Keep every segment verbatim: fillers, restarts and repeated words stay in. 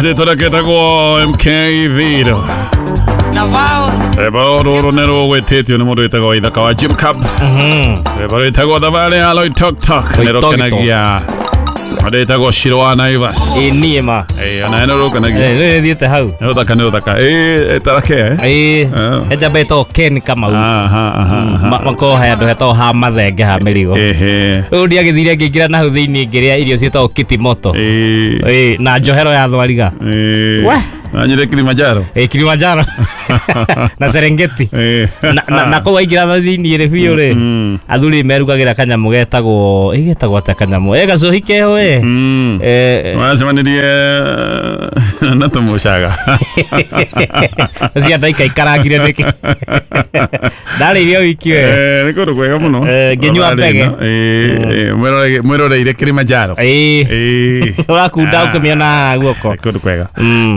Rĩtwa rĩake ĩtagwo M K Viro. Rwĩmbo rũrũ nĩ rũgwĩtĩtio nĩ mũndũ wĩtagwo Ithaka wa Jim Cup. Rwĩmbo rwĩtagwo Thabarĩ ya Loitoktok nĩ rũkenagia mũndũ wĩtagwo Shiro wa Naivas. Ĩ niĩ ma. Ĩ ona nĩ rũkenagia. Ĩ rĩu thiĩte hau. Nĩ rũthaka nĩ rũthaka. Ĩ tarake eh? Ĩ he njamba ĩtagwo Ken Kamau. Aha aha. Makoragwo he handũ hetagwo ha mathenge ha mĩrigo. Ehe. Rĩu ndiagĩthire ngĩingĩra na hau thĩinĩ ngĩrĩa irio ciĩtagwo kitimoto. Ĩ. Ĩ na njohero ya thwariga. Ĩ. We. Nanyire Kilimanjaro. Ĩ Kilimanjaro. Na Serengeti. Ĩ. Na na na kũu waingĩra thĩinĩ rĩ biũ rĩ. Athuri merugagĩra kanyamũ getagwo ĩ getagwo atĩa kanyamũ. Ĩ gacohi keho ĩ. Eh. Wacemanirie na tũmũcaga. Cia ndaika ikarangire nĩkĩ. Ndarĩirie wiki we. Eh nĩ kũndũ kwega mũno. Ngĩnyua mbege. Ĩ mwĩroreire Kilimanjaro. Ĩ. Ĩ. Ũrakunda ũkĩmĩona guoko. Kũndũ kwega.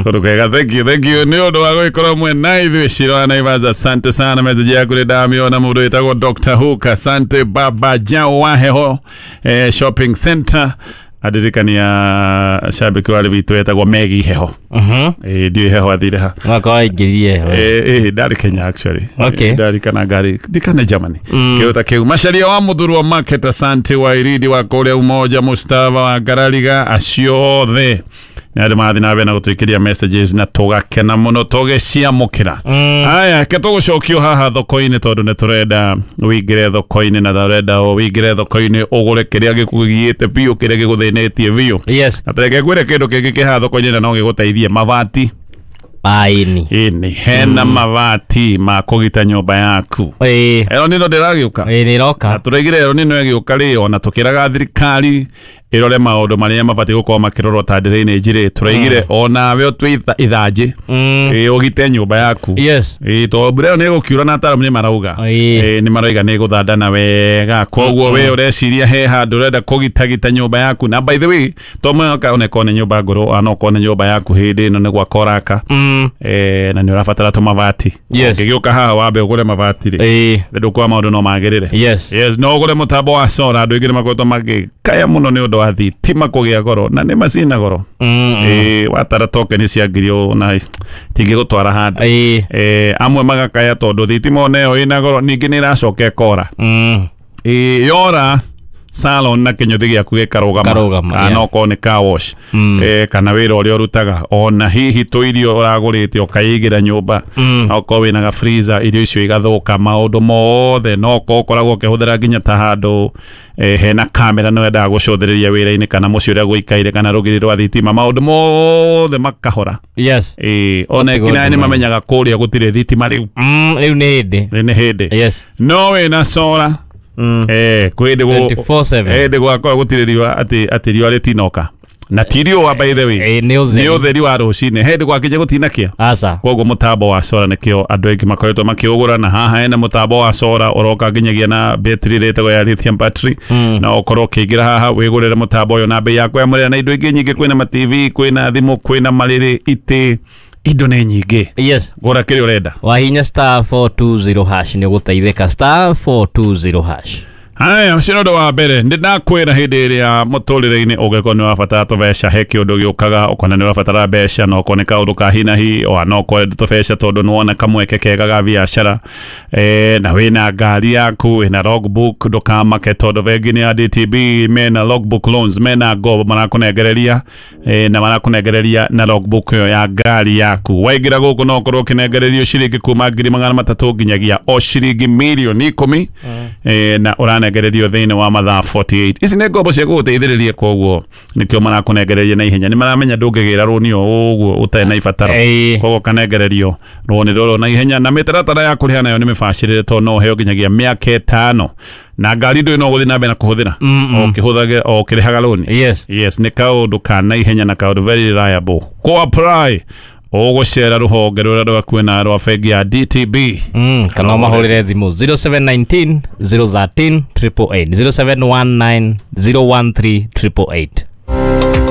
Kũndũ kwega. Thank you, thank you. Nĩ ũndũ wa gũgĩkorwo mwena ithuĩ Shiro wa Naivas. Asante sana message yaku nĩ ndamĩona. Mũndũ wĩtagwo Doctor Hook. Asante Baba Jao wa Heho eh, Shopping Center. Adirikania shabiki wale witũ etagwo Megi Heho. Mhm. Eh ndiũ Heho athire ha. Mwaka waingĩrire Heho. Eh eh ndarĩ Kenya actually. Okay. Ndarĩ kana ngari ndikane Germany. Kĩu ta kĩu. Macaria wa Mũthurwa Market, asante wa Iridi wa kũrĩa Umoja, Mustafa wa Ngarariga, acio othe. Nĩ andũ marathiĩ na mbere na gũtwĩkĩria messages na tũgakena mũno tũgĩciamũkĩra. Aya, ke tũgũcokio haha thoko-inĩ tondũ nĩ tũrenda ũingĩre thoko-inĩ na tũrenda ũingĩre thoko-inĩ ũgũre kĩrĩa gĩkũgiĩte biũ, kĩrĩa gĩgũthĩnĩtie biũ. Yes. Na tũreke ngwĩre kĩndũ kĩngĩ kĩ haha thoko-inĩ na no gĩgũteithie, mabati. Aini. Ĩni, hena mabati ma kũgita nyũmba yaku. Ĩ. Ero nino ndĩragĩũka. Ĩ nĩroka. Na tũraigire ero nino ĩgĩũka rĩ, ona tũkĩraga thirikari ĩrore maũndũ marĩa mabatiĩ gũkorwo makĩrorwo ta drainage rĩ, tũraigire onawe ũtue ithanjĩ ĩ ũgite nyũmba yaku. Yes. Ĩ tondũ mbura ĩyo nĩ ĩgũkiura na ataaramu nĩ marauga. Ĩ. Ĩ nĩ marauga nĩ ĩgũthandana wega. Koguo we ũreciria he handũ ũrenda kũgitagita nyũmba yaku. Na by the way, to mũhaka onekorwo nĩ nyũmba ngũrũ, ona okorwo nĩ nyũmba yaku hĩndĩ ĩno nĩ gwaka ũraka. Eh na nĩ ũrabatara tũmabati. Yes. Ũngĩgĩũka haha wambe ũgũre mabati rĩ. Ĩ. Ndũkuona maũndũ no magĩrĩre. Yes. Yes, no ũgũre mũtambo wa solar. Andũ aingĩ nĩ makoretwo magĩkaya mũno nĩ ũndũ wa thitima kũgĩa goro na nĩ macina goro. Ĩ watara token cia ngiri ũũ na tingĩgũtwara handũ. Ĩ. Eh amwe magakaya tondũ thitima ona ĩyo ĩna goro ningĩ nĩ ĩracoka ĩkora. Ĩ yora salon na kĩnyũthi gĩaku gĩkarũgama. Karũgama, Kana yeah. okorwo nĩ car wash. Eh kana wĩra ũrĩa ũrutaga ona hihi tũirio ũragũrĩte ũkaigĩra nyũmba. Na okorwo wĩna ga freezer irio icio igathũka maũndũ mothe no okorwo ũkoragwo ũkĩhũthĩra nginya ta handũ eh, hena kamera no wendaga gũcũthĩrĩria wĩra-inĩ kana mũciĩ ũrĩa gũikaire kana rũgiri rwa thitima maũndũ mothe makahora. Yes. Eh ona Gũtigwo nginya nĩ nduma. mamenyaga kũrĩa gũtirĩ thitima rĩu. Mm, rĩu nĩ hĩndĩ. Rĩu nĩ hĩndĩ. Yes. No wĩna solar. Mm. Eh kwĩ hĩndĩ gũ- twenty-four seven. Eh hĩndĩ gwakorwo gũtirĩ riũa atĩ atĩ riũa rĩtinoka. Na ti riũa by the way. Ĩ nĩ ũtheri. Nĩ ũtheri wa rũcinĩ. Hĩndĩ gwakinya gũtinakĩa. Aca. Koguo mũtambo wa solar nĩkĩo andũ aingĩ makoretwo makĩũgũra na haha hena mũtambo wa solar ũroka nginyagia na betri ĩtagwo ya lithium battery. Na ũkorwo ũkĩingĩra haha wĩgũrĩre mũtambo ũyũ na bei yaku ya mũrĩra na indo ingĩ nyingĩ, kwĩna ma T V, kwĩna thimũ, kwĩna marĩrĩ, itĩ, indo nĩ nyingĩ. Yes. Gũra kĩrĩa ũrenda. Wahinya star four two zero hash nĩ ũgũteithĩka star four two zero hash. Haya, ũcio nĩ ũndũ wa mbere. Nĩ ndakwĩra hĩndĩ ĩrĩa mũtũrĩre-inĩ ũngĩkorwo nĩ ũrabatara tũbeca, he kĩũndũ gĩũkaga, ũkona nĩ ũrabatara mbeca, na okorwo nĩ kaũndũ ka hi na hi, ona okorwo ũrenda tũbeca tondũ nĩ wona kamweke kega ga biacara, eh, na wĩna ngari yaku, wĩna logbook, ndũkamake tondũ bengi nĩ ya D T B, mena logbook loans, mena ngombo marakũnengereria, eh, na marakũnengereria na logbook ĩyo ya ngari yaku. Waingĩra gũkũ no ũkorwo ũkĩnengererio ciringi kuma ngiri magana matatũ nginyagia o ciringi mirioni ikũmi, eh, na ũranengererio thĩinĩ wa mathaa forty-eight. Ici nĩ ngombo cia gũgũteithĩrĩria, koguo nĩkĩo marakũnengereria na ihenya. Nĩ maramenya ndũngĩgĩra rũni o ũguo ũtarĩ na ibataro, koguo ũkanengererio rũni rũrũ na ihenya. Na mĩtaratara ya kũrĩha nayo nĩ mĩbacĩrĩre tondũ no ũheo nginyagia mĩaka ĩtano, na ngari ndũĩ no ũgũthiĩ na mbere na kũhũthĩra o ũkĩhũthagĩra o ũkĩrĩhaga rũni. Yes. Yes, nĩ kaũndũ ka na ihenya na kaũndũ very reliable. Kũ apply ũgũcera rũhonge rũrĩa rwakuĩ na rwa bengi ya D T B. Mm, kana ũmahũrĩre thimũ zero seven nineteen zero thirteen triple eight, zero seven one nine zero one three triple eight.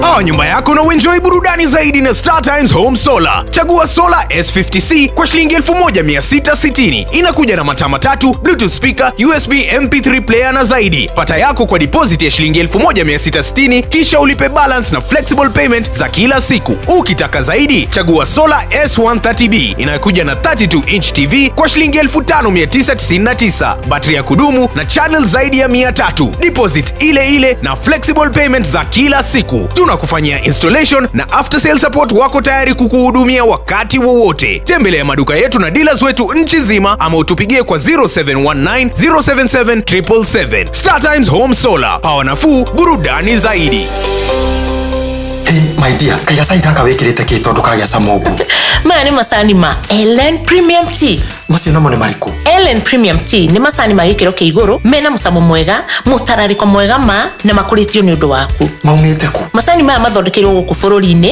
Power nyumba yako na uenjoy burudani zaidi na Star Times Home Solar. Chagua Solar S fifty C kwa shilingi elfu moja mia sita sitini. Inakuja na mataa matatu, Bluetooth speaker, U S B M P three player na zaidi. Pata yako kwa deposit ya shilingi elfu moja mia sita sitini kisha ulipe balance na flexible payment za kila siku. Ukitaka zaidi, chagua Solar S one thirty B inayokuja na thirty two inch T V kwa shilingi elfu tano mia tisa tisini na tisa. Battery ya kudumu na channel zaidi ya mia tatu. Deposit ile ile na flexible payment za kila siku. Tunakufanyia installation na after sale support, wako tayari kukuhudumia wakati wowote. Tembelea maduka yetu na dealers wetu nchi nzima ama utupigie kwa zero seven one nine, zero seven seven, triple seven. Star Times Home Solar, power nafuu, burudani zaidi. Hey, my dear, kaiga cai gaka wikirite ki tondu kagĩa cama ũguo? Maya nĩ macani ma Ellen Premium Tea. Macio namo nĩ marĩkũ? Ellen Premium Tea nĩ macani ma gĩkĩro kĩa igũrũ mena mũcamo mwega, mũtararĩko mwega ma na makũrĩtio nĩ ũndũ waku. Maumĩte kũ? Macani maya mathondekeirwo gũkũ bũrũri-inĩ